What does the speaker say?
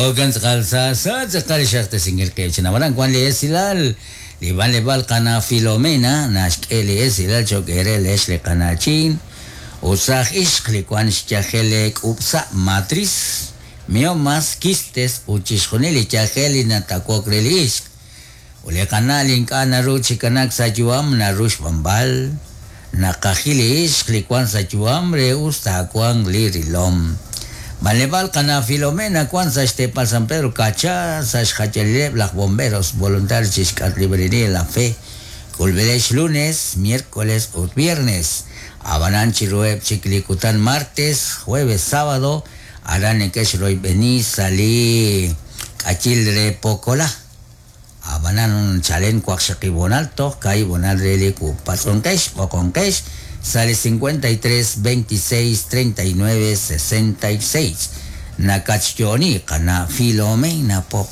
Jo'kan tz'aqal sa sa tz'aqal xraqtesinkil qib' chi nawaran wan li esilal li b'anleb'aal qana' Filomena naxk'e li esilal cho'q eere leex li qana'chin ut saaj ixq li wan xyajel leek'ub'sa' matriz, miomas, quistes ut chi xjunil li yajel li natawok re li ixq. Ut li qana' li ink'a' naru chi kanaak sa' yu'am naru xb'anb'al. Naqajil li ixq li wank sa' yu'am re us taawanq li rilom. B'anleb'aal qana' Filomena wank sa' xteepal San Pedro Kacha sa' xjayalileb' laj Bomberos Voluntarios chi xk'atq Librería La Fe. K'ulb'ilex lunes, miércoles ut viernes. Ab'anan chiruheb' chik li kutan martes, jueves, sábado aran neke'xroyb'eni sa' li k'ayil re Pokola. Ab'anan chalen waqxaqib' honal toj kaahib' honal re li patz'onqex b'oqonqex sa' li 53 26 39 66. Nakatxyo'oni qana' Filomena Pop.